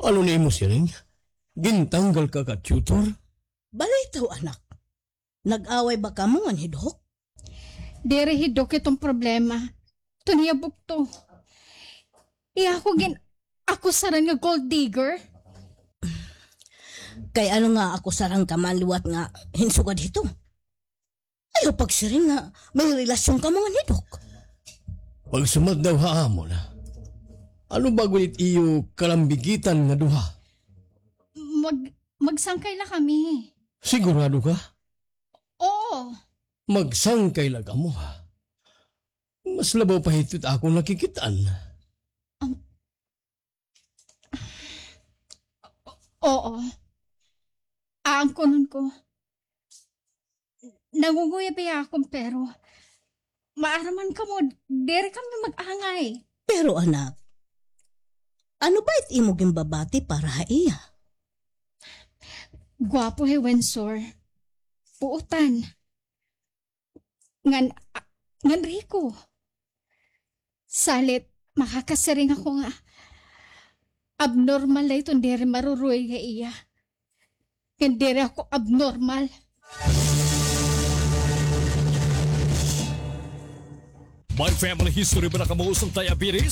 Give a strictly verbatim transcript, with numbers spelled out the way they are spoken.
Ano an imo siring? Gintanggal ka ka tutor? Balitaw, anak. Nag-away ba kamo ngan hi Doc? Diri hi Doc iton problema. Iton iya bugto. Iya ako gin-akusaran nga gold digger. Kay ano nga akusaran ka man liwat nga hin sugad hito? Ayaw pagsiring nga may relasyon kamo ngan hi Doc. Pagsumat daw ha amon. Ano ba gud it iyo kalambigitan nga duha? Mag-, magsangkay la kami. Sigurado ka? Oo. Magsangkay la kamo, ha? Mas labaw pa hito it akon nakikit-an. Um, Oo. Aangkonon ko. Nangunguyab hiya ha akon, pero maaram man kamo, diri kami mag-angay. Pero anak, ano ba it imo ginbabati para ha iya? Gwapo hi Wensor. Buotan. Ngan, a-, ngan riko. Salit, makakasiring ako nga abnormal la iton diri maruruy ha iya. Ngan diri ako abnormal. May family history ba na kamo usa hin diabetes?